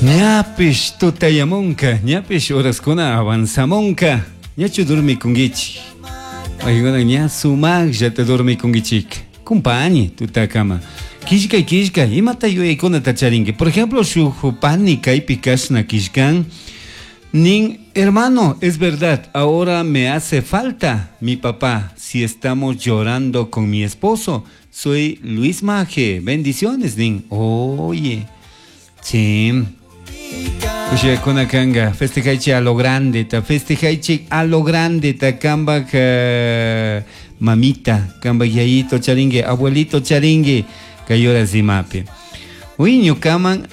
Ñapish tutayamunka, ñapish horaskuna avanzamunka. Ñachu dormikunkichik? Paykuna ña sumaqllata dormikunkichik. Kumpañi tutakama. Killkay killkay, imata yuyaykunata charinki? Por ejemplo, shuk pani kaypi kashna killkan. Nin, hermano, es verdad, ahora me hace falta mi papá si estamos llorando con mi esposo. Soy Luis Maje. Bendiciones, nin. Oye, sí. Kushiyakuna kanga, festejaychik a lo grande, ta festejaychik a lo grande, ta kambak mamita, kambak yayito charingi, abuelito charingi, kay horas imapi. Uy, ñukaman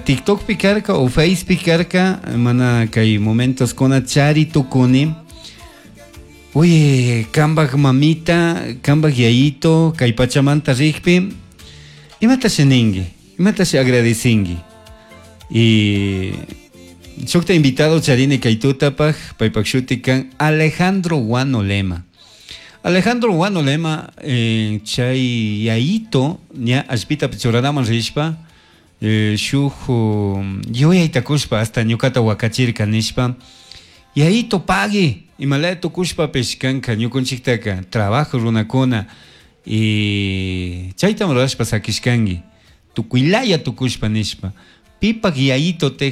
TikTokpi karka o Facepi karka, mana kay momentos kuna chari tukuni. Uy, kambak mamita, kambak yayito, kay pachamanta rikpi, imatashi ningi, imatashi agradecingi. Y shukta invitado charini kay tutapaj, paypak shuti kan Alejandro Guano Lema. Alejandro Guano Lema, chay yayito, ña allpita churanaman rishpa, shuk yuyayta kushpa hasta ñukata wakachirka nishpa, yayito pagui, imalaya tukushpapish kanka ñukunchiktaka trabajo runakuna, y chaytam rurashpa sakishkanki, tukuylaya tukushpa nishpa, pipak yayito tej.